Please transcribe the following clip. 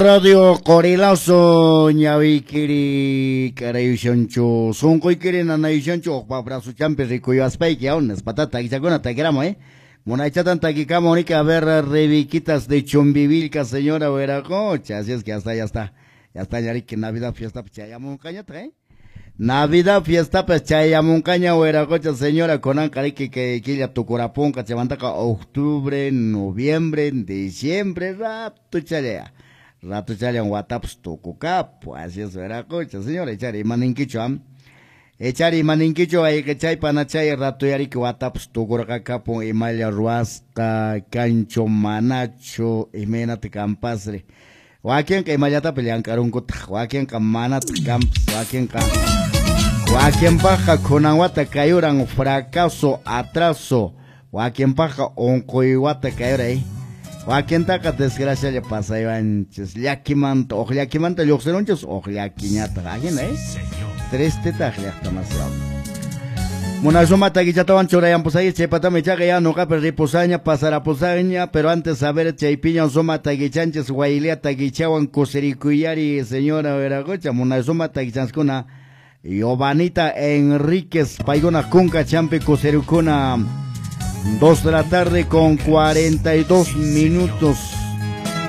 Radio Qorilazo ñawiykiri k'arayushanchu sunquykiri nanayushanchu uqpa brazuchampi rikuyuaspayki aw nispata takichakuna takiramu munaychatan takikamu riki a ver Rebiquitas de Chumbivilca señora Huiracocha, así es que hasta ya está ya riki Navidad fiesta chayamunqañataq Navidad fiesta chayamunqaña Huiracocha señora kunanqa riki kay killa tukurapunqa chaymantaqa octubre, noviembre, diciembre ratuchalla ratuchallan watapas tukukapu, así es Huiracocha señora, echari imaninkichu am echari imaninkichu ayqichay panachay ratu yariki watapas tukurqakapun imalla ruwasqa kanchu manachu imaynata kanpasri wakinqa imallatapas llank'arunkutaq wakinqa manataq kanpas wakinqa wakinpaqqa kunan wata kayuran fracaso atraso wakinpaqqa unquy wata kayuray wakintaqa desgracialla pasaywanchis llakimanta uq llakimanta lluqsirunchis uq llakiñataq ajina tristetaq llaqtamasiwan munasuma takichatawan churayanpusayki chaypatami ichaqa ya nuqapi ripusaña pasarapusaña pero antes a ver chaypiña suma takichanchis waylia takichawan kusirikuyari señora Huiracocha munasuma takichanskuna Giovanita Enríquez paykuna kunka champi kusirikuna 2 de la tarde con 42 minutos.